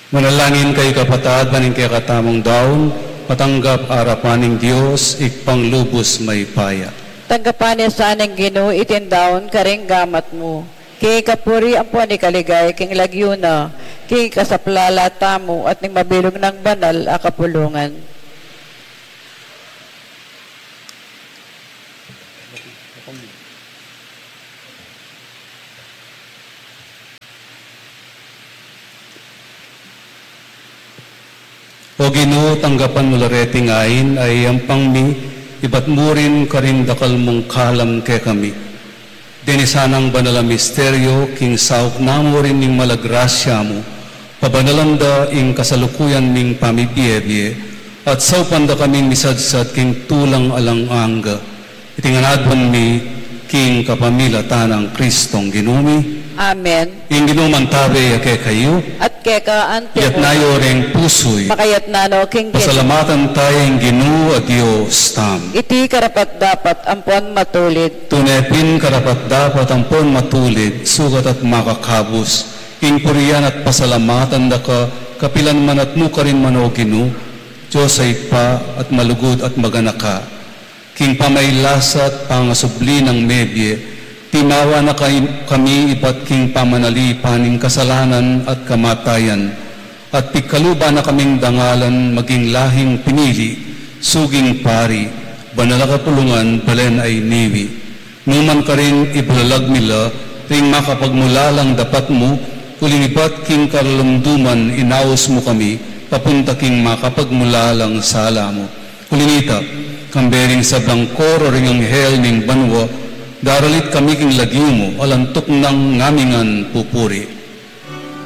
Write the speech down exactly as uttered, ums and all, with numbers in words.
Manalangin kayu kapatad, ban ing kekatamung daun matanggap arapan ning Dios, Ibpang lubus mayupaya. Tanggapan na sa ning Ginu iting daun karing gamat mu, king ikapuri ampon ikaligaya king lagyu na, king ikasaplala tamu at ning mabilug nang banal a kapulungan. O Ginu, tanggapan mu la reting ain a iyampan mi, ibat mu rin karing dakal mung kalam kekami. Deni sanang banal a misteryo, king saup na mu rin ning mala grasya mu, pabanalan da ing kasalukuyan ming pamibie-bie, at saupan da kaming misadsad king tulang alang angga. Iti ngan aduan mi king kapamilatan nang Kristong Ginu mi. Amen. Ing Ginu mantabe ya kekayu. At keka anti. Iyatas yu ring pusu yu. Makaiyatas no king Ginu. Pasalamatan taya ing Ginu a Dios tamu. Iti karapat-dapat ampon matulid. Tune pin karapat-dapat ampon matulid, sukat at makakabus, ing purian at pasalamatan da ka, kapilan man at nukarin man, o Ginu, Dios a Ibpa at malugud at maganaka. King pamailasa at pangasubli nang mebie, timawa na kay-, kami ibat king pamanalipan ning kasalanan at kamatayan, at pigkaluban na kaming dangalan maging lahing pinili, suging pari, banal a kapulungan, balen a iniwi. Nu man karin ibalalag mi la ring makapagmulalang dapat mu, uling ibat king karalumduman inaus mu kami, papunta king makapagmulalang sala mu. Uli nita, kambe ring sablang koro ring anghel ning banua, daralit kami king lagyu mu, alang tuknang ngamingan pupuri.